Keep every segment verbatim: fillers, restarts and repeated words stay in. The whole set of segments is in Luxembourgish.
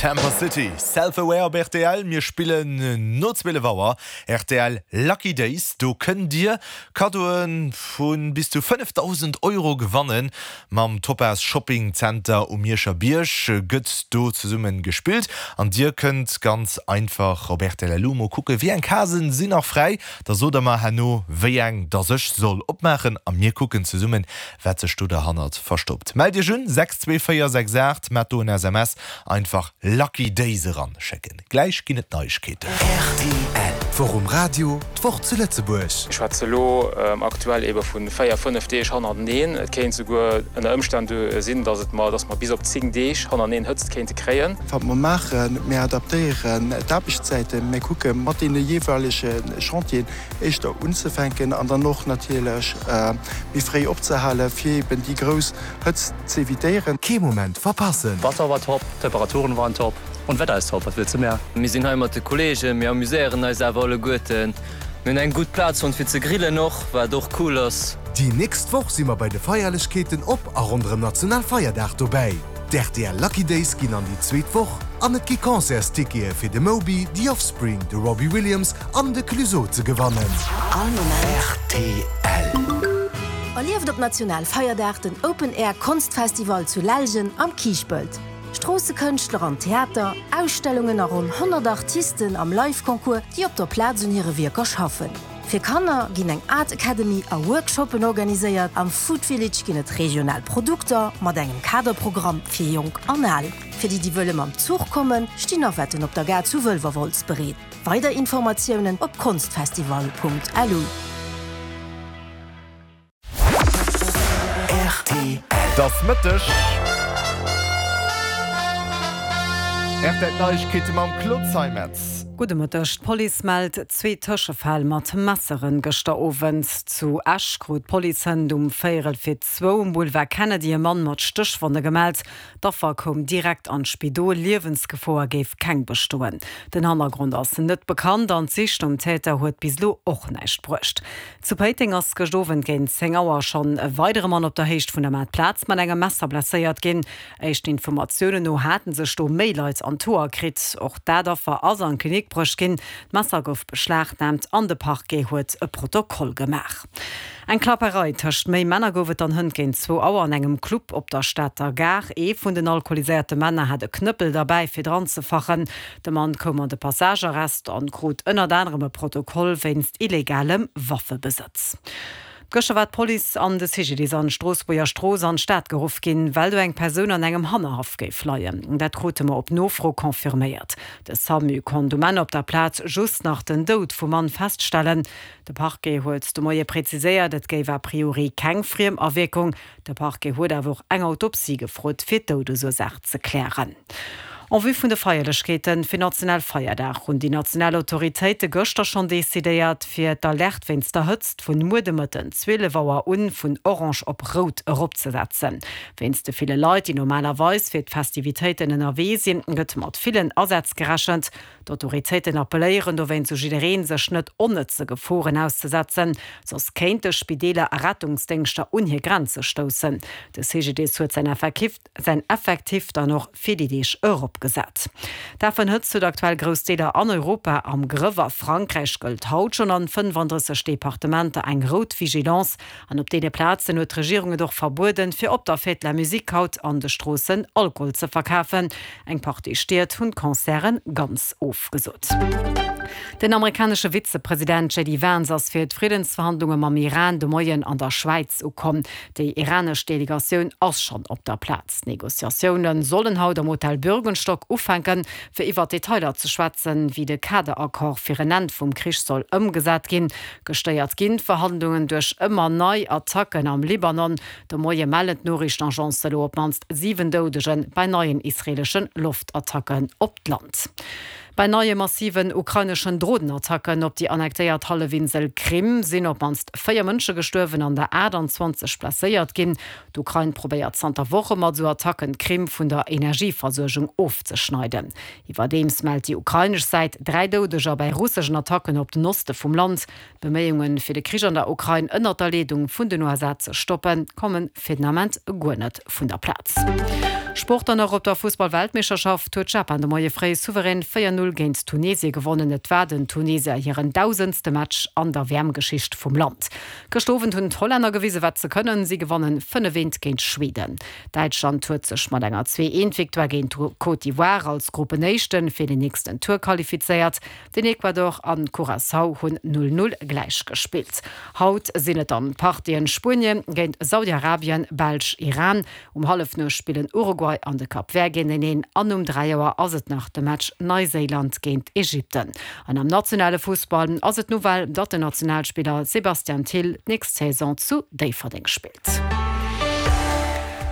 Tampa City, Self Aware op rtl. Mir spillen no zwielef Auer rtl Lucky Days. Do kënnt dir Kaddoe vu bis zu fënnefdausend Euro gewannen. Mam Topaz Shopping Center um Mierscher Bierg gëtt do zesumme gespillt. An dir kënnt ganz einfach op rtl Lumo kucke wéi eng Casen sinn nach fräi. Da sot der mer herno wéi eng dass ech soll opmaachen a mir kucken zesummen, wat sech do derhannert verstoppt. Mellt iech un sechs zwee véier sechs aacht, mat do en S M S einfach Lucky Days eran schécken. Gläich ginn et Neiegkeeten. Rtl. D'Woch um Radio, d'Woch zu Lëtzebuerg. Ech schwätze lo aktuell ebe vu véier, fënnef Deeg hannerteneen. Et kéint souguer ënner Ëmstänn sinn, dass et mer, dass mer bis op zéng Deeg hannerteneen Hëtzt kéinte kréien. Wat mer maachen, mir adaptéieren d'Aarbechtszäiten, mir kucke mat deene jeeweilege Chantieren éischter unzefänken an dann och natierlech méi fréi opzehalen, fir eben déi grouss Hëtzt z'evitéieren. Kee Moment verpassen! Wasser war top, Temperaturen waren top und Wetter ist top, was willst du mehr? Mir sinn hei mat de Kolleegen, mir amuséieren eis awer alleguerten. Mir hunn eng gutt Plaz fonnt fir ze grillen och, wat och cool ass. Déi nächst Woch si mer bei de Feierlechkeeten op a ronderëm Nationalfeierdag dobäi. D'R T L Lucky Days ginn an déi zweet Woch an et gi Concertstickete fir de Moby, The Offspring, de Robbie Williams an de Clueso ze gewannen. All Moment. R T L. Erlieft op Nationalfeierdag den Open Air Konstfestival zu Lellgen am Kiischpelt. Stroossekënschtler an Theater, Ausstellungen a ronn honnert Artisten am Live-Concours, déi op der Plaz un hire Wierker schaffen. Fir Kanner ginn eng Art Academy a Workshoppen organiséiert, am Food Village ginn et regional Produkter mat engem Kaderprogramm fir Jonk an Al. Fir déi, déi wëlle mam Zuch kommen, stinn Navetten op der Gare zu Wëlwerwolz bereet. Weider Informatiounen op konstfestival Punkt L U. R T L. Et ass Mëtteg. R T L Neiegkeete mam Claude Zeimetz. Gudde Mëtteg. D'Police mellt zwee Tëschefäll mat Messeren gëschter Owend. Zu Esch krut d'Police hënt um véierel fir zwou um Boulevard Kennedy e Mann mat Stéchwonne gemellt. D'Affer koum direkt an d'Spidol, Liewensgefor géif keng bestoen. Den Hannergrond ass net bekannt an d'Sich nom Täter huet bis elo och näischt bruecht. Zu Péiteng ass gëschter Owend géint zéng Auer schonn e weidere Mann op der Héicht vun der Maartplaz mat engem Messer blesséiert ginn. Éischten Informatiounen no hate sech do méi Leit an d'Hoer kritt. Och dat Affer ass an d'Klinik bruecht ginn. D'Messer gouf beschlagnaamt an de Parquet huet e Protokoll gemaach. Eng Klapperei tëscht méi Männer gouf et dann hënt géint zwou Auer an engem Club op der Stater Gare. Ee vun den alkoholiséierte Männer hat e Knëppel derbäi fir dran ze fachen. De Mann koum an de Passagearrest an krut ënnert anerem e Protokoll wéinst illegalem Waffebesëtz. Gëschter war d'Police an de C G D I S an d'Stroossbuerger Strooss an d'Stad geruff ginn, well do eng Persoun an engem Hannerhaff géif leien. Dat krute mer op Nofro confirméiert. De SAMU konnt um Enn op der Plaz just nach den Doud vum Mann feststellen. De Parquet huet de Moie preziséiert, et géif a priori keng Friemawierkung. De Parquet huet awer och eng Autopsie gefrot, fir d'Doudesursaach ze klären. En vue vun de Feierlechkeeten fir Nationalfeierdag hunn déi national Autoritéite gëschter schonn decidéiert, fir d'Alerte wéinst der Hëtzt vun muer de Mëtten zwielef Auer un vun orange op rout eropzesetzen. Wéinst de ville Leit, déi normalerweis fir d'Festivitéiten ënnerwee sinn, gëtt mat villen Asätz gerechent. D'Autoritéiten appelléieren dowéinst u jiddereen, sech net onnëtze Geforen auszesetzen, soss kéinte Spideeler a Rettungsdéngschter un hir Grenze stoussen. De C G D I S huet säin Effektiv, säin Effektiv dann och fir déi Deeg eropgesat. D'Afen Hëtzt huet aktuell grouss Deeler an Europa am Grëff. A Frankräich gëllt haut schonn an fënnefandrësseg Departementer eng rout Vigilance an op deene Plazen huet d'Regierung et och verbueden, fir op der Fête de la Musique haut an de Stroossen Alkohol ze verkafen. Eng Partie Stied hunn d'Concerten ganz ofgesot. Den amerikanesche Vizepresident J D Vance ass fir d'Friddensverhandlunge mam Iran de Moien an der Schwäiz ukomm. Déi iranesch Delegatioun ass schonn op der Plaz. Negociatioune sollen haut am Hotel Bürgenstock ufänken, fir iwwer Detailer ze schwätzen, wéi de Kaderaccord fir en Enn vum Krich soll ëmgesat ginn. Gestéiert ginn d'Verhandlungen duerch ëmmer nei Attacken am Libanon. De Moie mellen d'Noriichtenagencen elo op d'mannst siwen Doudeger bei neien israeelesche Loftattacken op d'Land. Bei neie massiven ukraineschen Dronenattacken op déi annektéiert Hallefinsel Krim sinn op d'mannst véier Mënsche gestuerwen an der aachtanzwanzeg blesséiert ginn. D'Ukrain probéiert zanter Woche mat sou Attacken d'Krim vun der Energieversuergung ofzeschneiden. Iwwerdeems mellt déi ukrainesch Säit dräi Doudeger bei russeschen Attacken op den Oste vum Land. Beméiunge fir de Krich an der Ukrain ënner der Leedung vun den U S A ze stoppen, komme fir den Ament guer net vun der Plaz. Sport dann nach, Op der Fussball-Weltmeeschterschaft huet Japan de Moie fréi souverän véier Null géint Tunesie gewonnen. Et war den Tunesier hiren dausendste Match an der W M-Geschicht vum Land. Gëscht Owend hunn d'Hollänner gewise wat se kënnen, si gewannen fënnef eent géint Schweden. Däitschland huet sech mat enger zwee eent Victoire géint Côte d'Ivoire als Gruppenéischten fir den nächsten Tour qualifizéiert. Den Ecuador an Curaçao hunn null null gläich gespillt. Haut sinn et dann d'Partien Spuenien géint Saudi-Arabien, Belsch, Iran. Um Hallefnuecht spillen Uruguay an de Cap Vert géinteneen an um dräi Auer ass et nach de Match Neiséiland géint Ägypten. An am nationale Fussball ass et d'Nouvelle, datt den Nationalspiller Sebastian Thill d'nächst Saison zu Déifferdeng spillt.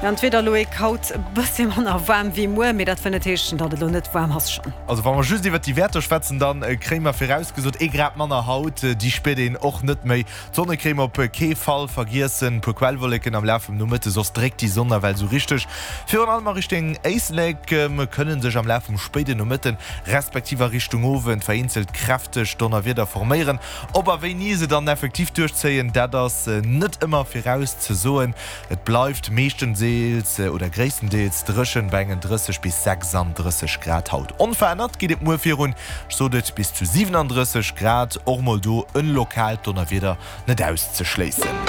An d'Wieder, Loïc, haut e bëssi manner waarm wéi muer, mee dat wëll net heeschen, datt et elo net waarm ass schonn. Also wa mer just iwwert déi Wäerter schwätzen, dann kréie mer virausgesot ee Grad manner haut, déi spiert een och net méi. D'Sonnecrème op kee Fall vergiessen, puer Quellwolleken am Laf vum Nomëtte, soss dréckt déi Sonn nawell sou richteg. Virun allem a Richtung Éislek kënne sech am Laf vum spéiden Nomëtten, respektiv a Richtung Owend vereenzelt kräfteg Donnerwieder forméieren. Ob a wéini se dann effektiv duerchzéien, dat ass net ëmmer virauszesoen. Et bleift meeschtendeels oder gréisstendeels dréchen bei engen drësseg bis sechsanddrësseg Grad haut. Onverännert geet et muer virun, ech sot et, bis zu siwenandrësseg Grad, och mol do en lokaalt Donnerwieder net auszeschléissen.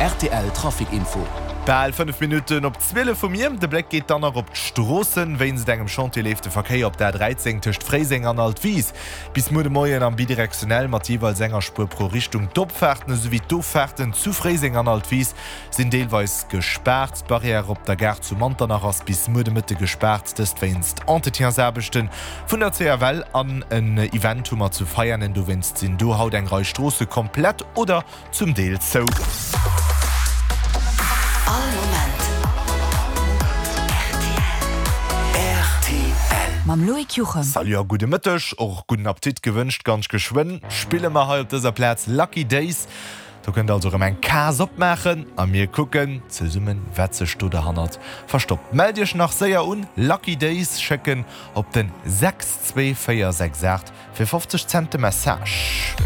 Rtl Trafic Info. Bal fënnef Minutten op zwielef hu mir. De Bléck geet dann nach op d'Stroossen. Wéinst engem Chantier leeft de Verkéier op der A dräizéng tëscht Fréiseng an Altwis bis muer de Moien am bidirektionell mat jeeweils enger Spuer pro Richtung. D'Opfaarten esouwéi d'Offaarten zu Fréiseng an Altwis sinn deelweis gespaart. D'Barrière op der Gare zu Manternach ass bis muer de Mëtte gespaart, dëst wéinst Entretiensaarbechte vun der C F L. An en Event hu mer zu Veianen, dowéinst sinn do haut eng Rei Stroosse komplett oder zum Deel zou. All Moment R T L. Mam Loïc Juchem. Salut a gudde Mëtteg, och gudden Appetit gewënscht. Ganz geschwënn spille mer hei op dëser Plaz Lucky Days. Do kënnt der also erëm eng Case opmaachen a mir kucken zesummen, wat sech do derhannert verstoppt. Mellt iech nach séier un, Lucky Days schécken op den sechs zwee véier sechs aacht fir fofzeg Cent de Message.